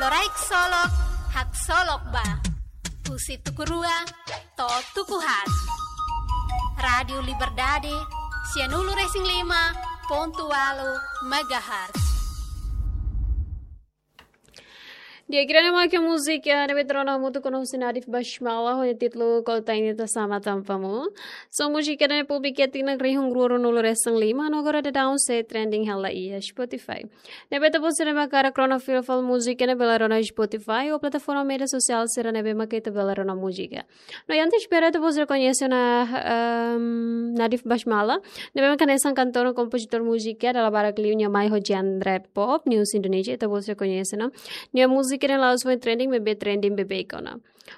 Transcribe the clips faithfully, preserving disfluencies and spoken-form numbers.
Loraik Solok, haksolok ba. Husi tuku rua to'o tuku haat. Rádiu Liberdade, sianulu-resin-lima pontu ualu megahertz. Di'ak, ida-ne'e mak múzika ne'ebé ita rona hamutuk ona husi Nadhif Basmala, ho títulu Kota Ini Tasama Tanpamu. Son múzika ne'e publika tinan rihun rua ruanulu-resin-lima, no agora daudaun sei trending hela iha Spotify. Ne'ebé ita-boot sira mak hakarak rona fila fali múzika ne'e bele rona Spotify ou plataforma média sosiál sira ne'ebé mak ita bele rona múzika. No, iha antes espera ita-boot sira koñese ona, ehm, Nadhif Basmala, ne'ebé mak hanesan kantór no kompozitór múzika, dala barak liu nia mai ho genre pop, ne'e husi Indonézia, ita-boot sira koñese ona. Nia múzika ne'e la'ós foin trending, maibé trending beibeik ona.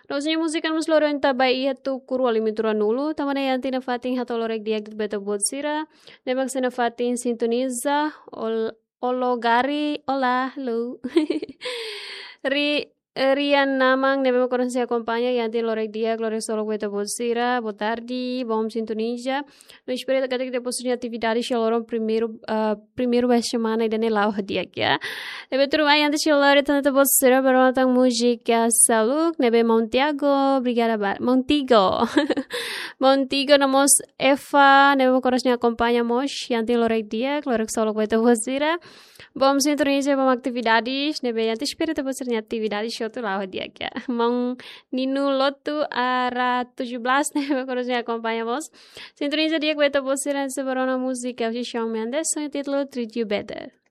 No, husi nia múzika ne'e mós loro ita ba iha tuku rua limitu ruanulu, tanba ne'e iha tiha ona fatin hato'o lorokraik di'ak ba ita-boot sira, ne'ebé mak hanesan fatin sintoniza, ol-, olá, Gari, olá, hello. Ri-, eh, Rian Namang, ne'ebé mak kontinua akompaña, iha tiha ona lorokraik di'ak, lorokraik solok ba ita-boot sira, boa tarde, bom sintonia. No espera katak ita-boot sira-nia atividade iha loron primeiru, ah, primeiru ba semana ida-ne'e la'o di'ak, ya. Ne'ebé tuirmai, antes de lori tan ita-boot sira, bele rona tan múzika seluk, ne'ebé Maun Tiago, obrigada ba-, Maun Tigo. Maun Tigo no mós Eva, ne'ebé mak kontinua akompaña mós, iha tiha ona lorokraik di'ak, lorokraik solok ba ita-boot sira. Bom sintonia, bom atividades, ne'ebé iha antes espera ita-boot sira-nia atividades hotu la'o di'ak, ya. Maun Nino Lotu, Ara tujuh belas, ne'ebé mak kontinua akompaña mós. Sintonia di'ak ba ita-boot sira, sei bele rona múzika husi Shawn Mendes, ho títulu Treat You Better.